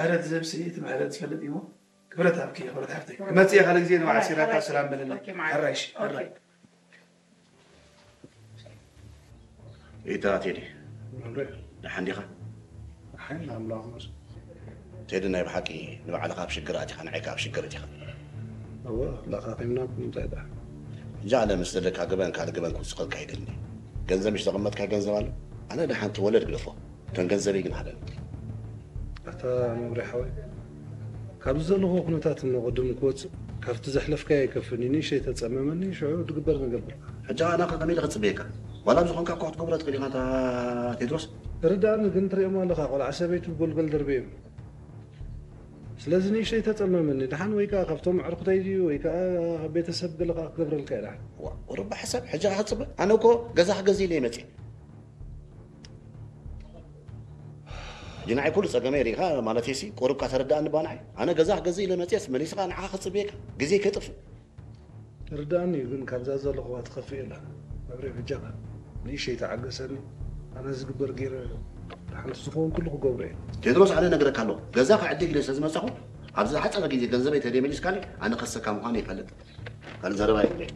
ምሕረት ዝህብሲ እቲ ምሕረት ዝፈልጥ እዩ። ክብረት ኣብኪ፣ ክብረት ሓፍተይ። ክመጽእ እየ ካልእ ግዜ ንባዕ ዓሲራታ ሰላም በለለይ። ኦኬ፣ ማዓረይ። ሕራይ፣ እሺ፣ ኦኬ። ሕራይ። ኢታ ቴዲ፣ መምርሒ። ደሓን ዲኻ? ደሓን፣ ኣምላኽ ይመስገን። ቴዲ፣ ናይ ብሓቂ ንባዕልኻ ኣብ ሽግር ኣቲኻ፣ ንዓይ ከኣ ኣብ ሽግር ኣቲኻ። እወ፣ ላኻኺምና ብምንታይ ደኣ? ሕጂ ኣነ ምስ ዘለካ ገበን ካልእ ገበን ክውስኸልካ ኣይደልን እየ። ገንዘብ ምሽ ዘቐመጥካ ገንዘብ ኣሎ? ኣነ ደሓን ተወለድ ግደፎ። እተን ገንዘበይ ግን ሃበኒ። ኣታ መምርሒ ሓወይ፣ ካብዚ ዘለኹዎ ኩነታት እሞ ቅድም ክወጽእ፣ ካብቲ ዘሕለፍካዮ ኣይከፍእን እዩ። ንእሽተይ ተጸመመኒ፣ ሽዑ ድግበር ንገብር። ሕጂ ኣነ ከ ከመይ ኢለ ክጽበየካ? ዋላ ኣብ ዝኾንካ እኳ ክትገብሮ ትኽእል ኢኻ፣ ኣታ ቴድሮስ። ርድኣኒ ግን ትሪኦም ኣለኻ፣ ቆልዓ ሰበይቱ ጎልጎል ደርበዮም። ስለዚ ንእሽተይ ተጸመመኒ። ደሓን ወይ ከኣ ካብቶም ኣዕሩኽተይ ድዩ ወይ ከኣ ካብ ቤተሰብ ገለ ከኣ ክገብረልካ እየ ደሓን። ዋ፣ ቁሩብ ብሓሳብ ሕጂ ከኣ ክጽበ? ኣነ እኮ ገዛ ክገዝእ ኢለ እየ መጽየ። ሕጂ ንዓይ ኩሉ ጸገመይ ርኢኻ፣ ማለተይሲ ቁሩብ ከኣ ተረድኣኒ እባ ንዓይ። ኣነ ገዛ ክገዝእ ኢለ መጽየስ መሊስኻ ንዓኻ ክጽበየካ ግዜ ከይጥፍእ። ርድኣኒ እዩ፣ ግን ካብዛ ዘለኹዋ ትኸፍእ የላን። መብሬ በጃኻ ንእሽተይ ተዓገሰኒ። ኣነ ዝግበር ገይረ ሓንቲ ዝኸውን ኩሉ ክገብሮ እየ። ቴድሮስ፣ ኣነ ነግረካ ኣለኹ፣ ገዛ ክዕድግ ኢለ ስለ ዝመጻኹ፣ ኣብዚ ዝሓጸረ ግዜ ገንዘበይ ተደይመሊስካኒ፣ ኣነ ከሰካ ምዃነ ይፈልጥ። ካልእ ዘረባ የብለይ።